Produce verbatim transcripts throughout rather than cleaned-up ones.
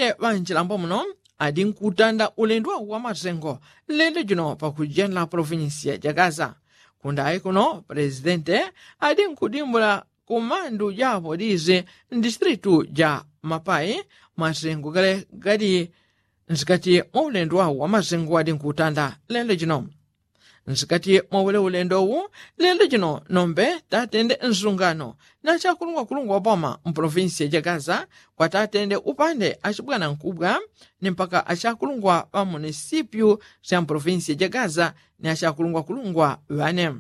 ŵanchilambo muno adi nkutanda ulendo wa masengo lendo jino pakujenela polofinsiya ja gaza. Kundayi kuno pulezidente adi nkudimbula kumandu ja apolisi mdistilitu ja mapai, masengo gale gali nsikati mwa ulendo wa masengo adi nkutanda lendo jino. Nsikati mwa ule ulendo wu lelo jino nombe tatende nsungano na achakulungwakulungwa wa boma mpolofinsiya ja gaza, kwa tatende upande achibwanankubwa ni mpaka achakulungwa ŵa munisipyu sya mpolofinsiya ja gaza ni achakulungwakulungwa ŵane.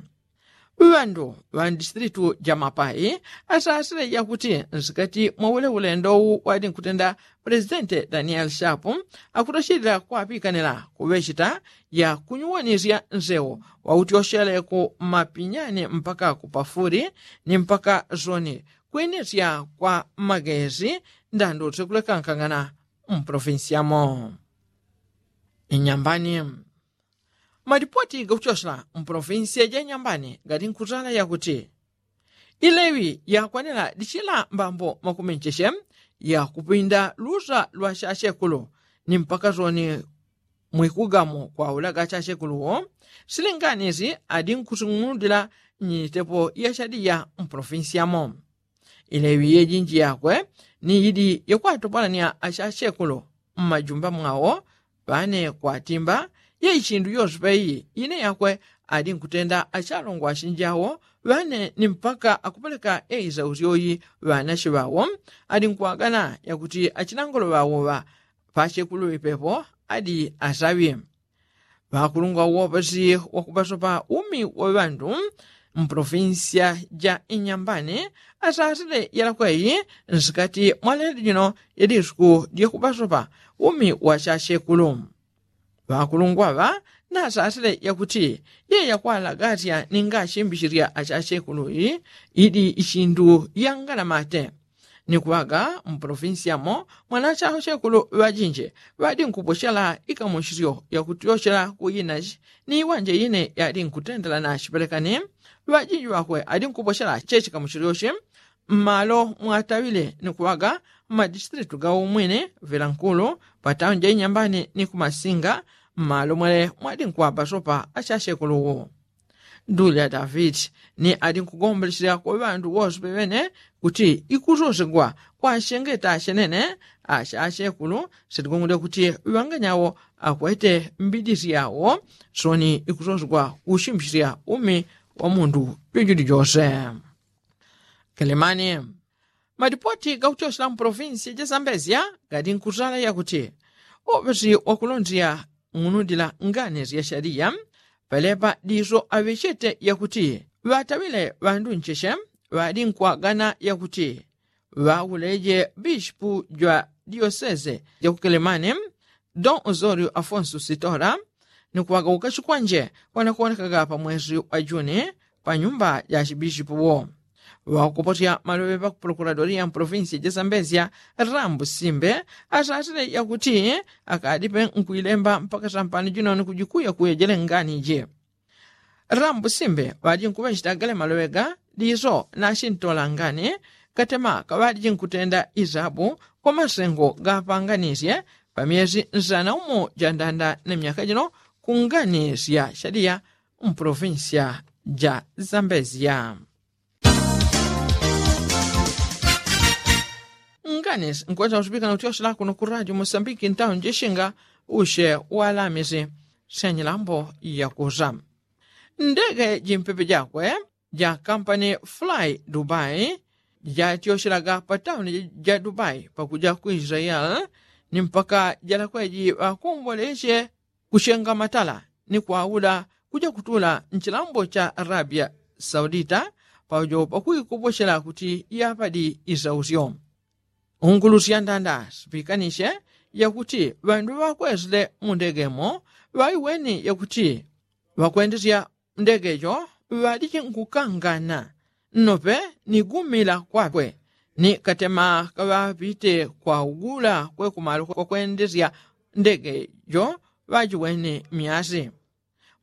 Ŵandu ŵa ndistilitu ja mapai asasile yakuti nsikati mwa ule ulendo wu wadi nkutenda pulezidente danieli shapu akutochilila kwapikanila kuŵecheta ya kunyuwanisya nsewo wautyoshele ku mapinyani mpaka ku pafuli ni mpaka zoni kwinisya kwa magezi ndandutse kulekankangana mpolofinsi yamo. Inyambani. Malipoti gakutyosela mpolofinsi ya janyambani gali nkutala yakuti ilewi yakwanela dichila mbambo makumincheche ya kupinda lusa lwa chachekulu ni mpaka zoni mwikugamo kwaulaga chachekuluwo. Silinganisi adi nkusing'unudila nyitepo ya chadiya mpolofinsi yamo. Ilewi yejinji yakwe ni idi yakwatopolanya achachekulu mmajumba mwawo ŵane kwatimba ye ichindu yose peiyi ine yakwe adi nkutenda achalongwa achinjawo ŵane ni mpaka akupeleka eisausyoyi ŵanache ŵawo adi nkwagana yakuti achinangolo ŵawo ŵa pachekulu ŵipepo adi asaŵi. Ŵakulungwa wopesi wakupasopa umi wa ŵandu mpolofinsiya ja inyambani asasile yalakweyi nsikati mwa lelo jino yadisuku dyakupasopa umi wa chachekulu. Ŵakulungwa ŵa nasasile yakuti yeyakwalagatya ninga achimbichilya achachekuluyi idi ichindu yangalamate. Ni kuŵaga mpolofinsi yamo mwana achachekulu ŵajinji ŵadi nkupochela ikamuchisyo yakutyochela ku inachi ni iwanje ine yadi nkutendela nachipelekani. Ŵajinji ŵakwe adi nkupochela chechikamuchisyochi mmalo mwataŵile ni kuŵaga mmadistilitu ga umwine vila nkulu patauni ja inyambani ni kumasinga mmalo mwele mwadi nkuŵapasopa achachekuluwo. Dulya davidi ni adi nkugombelesyela kwa ŵandu wose peŵene kuti ikusosegwa kwa achengeta achenene ache achekulu sitigongole kuti ŵanganyawo akwete mbidisi yawo soni ikusosegwa kuchimbisya umi wa mundu jojuli jose. Kelemani. Malipoti gakutyosela mpolofinsi ja sambezya gali nkusala yakuti opesi wakulondela ng'unudila ngani sya shaliya pelepa diso aŵechete yakuti ŵataŵile ŵandu ncheche ŵadi nkwagana yakuti ŵauleje bishipu jwa diosese jakukelemani don osorio afonso sitora ni kuŵagauka chikwanje kwanakuonekaga pa mwesi wa juni pa nyumba ja chibishipu wo. Ŵakupotya maloŵe ŵa ku pulokuladoria mpolofinsi ja sambezya rambu simbe asasile yakuti akadipe nkwilemba mpaka sampani jino ni kujikuya kuyejele ngani ji. Rambu simbe ŵadi nkuŵecheta gale maloŵe ga diso nachintola ngani katema kaŵadi jinkutenda isabu kwa masengo gapanganisye pa myesi nsana umo jandanda ni myaka jino ku ngani sya shaliya mpolofinsiya ja sambezya. Ngani nkwesa usipikana utyosela kuno ku radio mosambiki ntauni jishinga ushe walamisi sya nyilambo yakusa. Ndege jimpepe jakwe ja kampani fly dubai jatyoshelaga pa tauni ja dubai pakuja ku israeli ni mpaka jalakweji ŵakongoleshe kuchenga matala ni kwaula kuja kutula nchilambo cha arabia saudita paujo pakuikoposhela kuti yapadi isausyo. Ungulusya ndanda sipikanishe yakuti ŵandu ŵakwesile mu ndegemo ŵaiweni yakuti ŵakwendesya ndege jo ŵaliji nkukangana nnope ni gumila kwakwe ni katema kaŵapite kwaugula kwekumalo kwakwendesya ndege jo ŵajiweni myasi.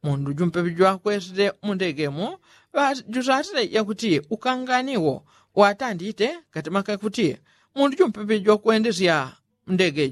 Mundu jumpepe jwakwesile mu ndegemo ŵajusasile yakuti ukangani wo watandite katema kakuti mundu jumpepe jwakwendesya ndege